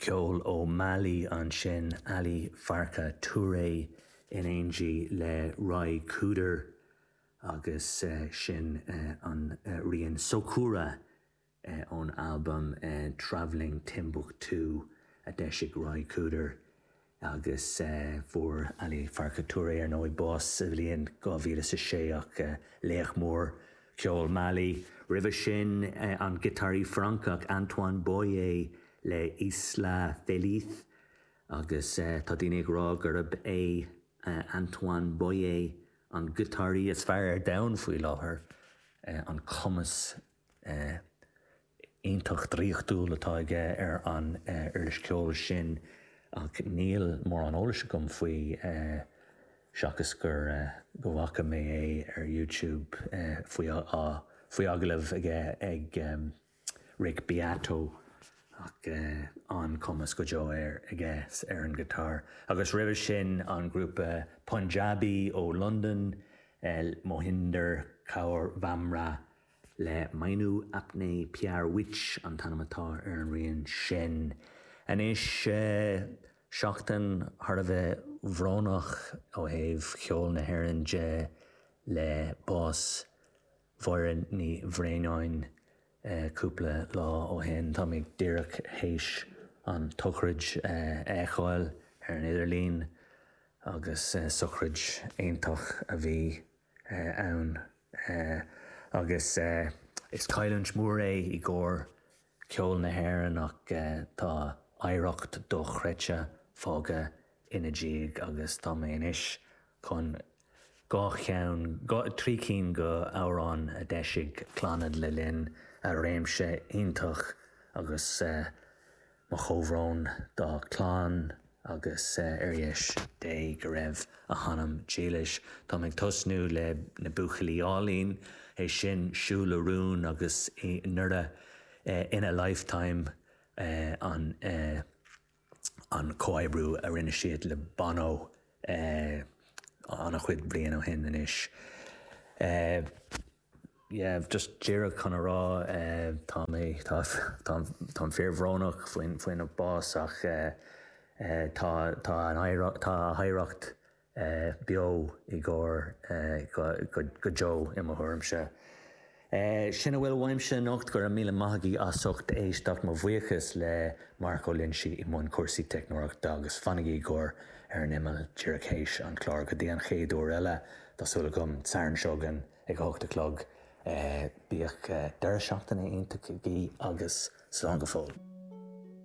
Ceol ó Mali ansin, Ali Farka Touré in éindí le Ry Cooder agus sin an rian Sokoura ón albam Travelling Timbuktu a d'eisigh Ry Cooder agus fuair Ali Farka Touré ar ndóigh bás sa bhliain 2006 ach laoch mór ceoil Mali. Roimhe sin an giotáraí Francach Antoine Boyer le Isla Feliz agus tá daoine ag rá gurb é Antoine Boyer an giotáraí is fearr ar domhan faoi láthair, an cumas iontach draíochtúil atá aige ar an uirlis ceoil sin ach níl mórán eolais agam faoi seachas gur go bhfaca mé é ar YouTube faoi faoi agallamh aige ag Rick Beato ach an-chumas go deo air aige ar an ghiotár. Agus roimhe sin an grúpa Punjabi ó Londain, Mohinder Kaur Bhamra le Mainu Apne Pyar Vich an t-ainm atá ar an rian sin. Anois, seachtain thar a bheith bhrónach ó thaobh cheol na hÉireann de le bás Mháire Ní Bhraonáin cúpla lá ó shin. Tá mé díreach théis an tsochraid a fheiceáil ar an idirlíon agus sochraid iontach a bhí ann agus is cailliúint mhór é i gcomhair ceol na hÉireann ach tá oidhreacht dochreidte fágtha ina diaidh agus tá mé anois chun dhá cheann, trí cinn de amhráin a d'eisigh Clannad le linn a réimse iontach agus Mo chomhbhrón dá clann agus ar dheis Dé go raibh a hanam dílis. Táim ag tosnú le Na Buachaillí Álainn, é sin Siúl le Rún agus i nDoire In a Lifetime an an comhoibriú a rinne siad le Bono an-chuid bliain ó shin anois. Yeah, just díreach chun a rá, tá mé, tá, táim fíorbhrónach faoin, faoina bás ach tá, tá an oidhreacht, tá a hoidhreacht beo i gcomhair go, go deo i mo thuairimse. Sin a bhfuil uaimse anocht, go raibh míle maith agaibh as ucht éisteacht, mo bhuíochas le Mark Ó Loinsigh i mbun cúrsaí teicneoireachta agus fanaigí i gcomhair Ar an Imeall díreach théis an chláir go dtí an chéad uair eile, tá súil agam, Satharn seo chugainn. Ag a hocht a chlog. Bíodh deireadh seachtaine iontach agaibh agus slán go fóill.